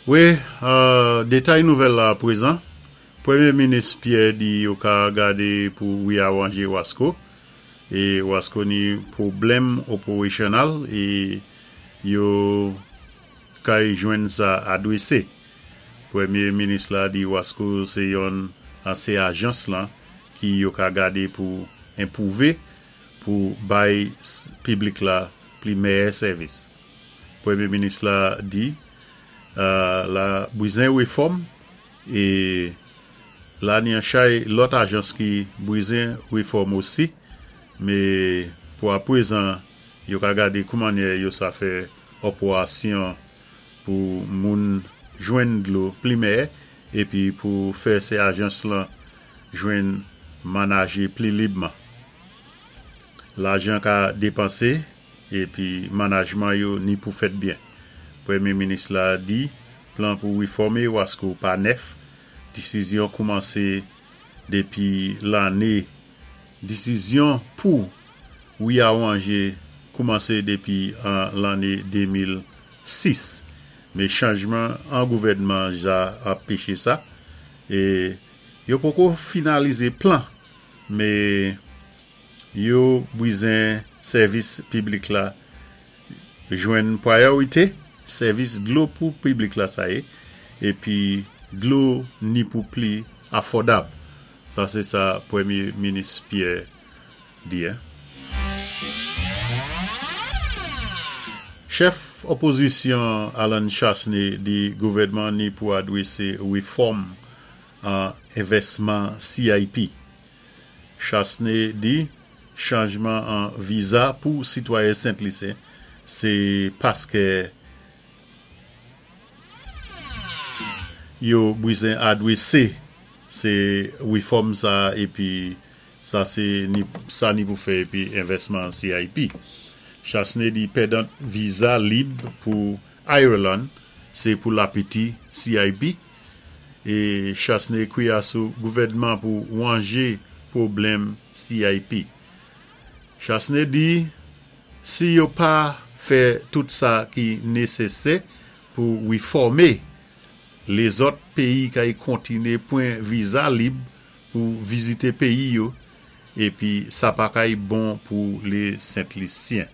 Wi, detay nouvèl la apwezan, Premye Minis Pierre di yo ka gadé pou riyawanje Wasco, e Wasco ni pwoblèm operational e yo kay jwenn sa adwesé. Premye Minis la di Wasco sé yonn an sé ajans lan ki yo ka gadé pou enpwouvé pou bay piblik la pli mèyè sèvis. Premye minis la di la bwizen refòm e la ni an chay lòt ajans ki bwizen refòm osi me pou aprezan yo ka gade koumannyè yo sa fè òporasyon pou moun jwenn dlo pli mèyè epi pou fè se ajans lan jwenn manaje pli libman lajan ka depanse. Epi manajman yo ni pou fèt byen. Premye minis la di plan pou refòme Wasco pa nèf, disizyon koumanse depi lane disizyon pou riyawanje koumanse depi an lanne 2006 me chanjman an gouvènman ja anpeche sa e yo poko finalize plan me Yo bwizen sèvis piblik la jwenn prayorite, sèvis dlo pou piblik la sa ye, epi dlo ni pou pli afòdab. Sa se sa Premye Minis Pierre di. Chèf opozisyon Allen Chastanet di gouvènman ni pou adrese refòm an envèsman CIP. Chastanet di chanjman an viza pou sitwayen Sent Lisen se paskè yo bwizen adwese se refòm sa epi sa se ni sa ni pou fè epi envèsman CIP. Chastanet di pèdant viza lib pou Ireland se pou lapeti CIP. E Chastanet kwiya sou gouvèdman pou wanje pwoblèm CIP. Chastanet di si yo pa fè tout sa ki nesesè pou refòme, lezòt peyi kay kontine pwan viza lib pou vizite peyi yo epi sa pa kay bon pou le Sent Lisyen.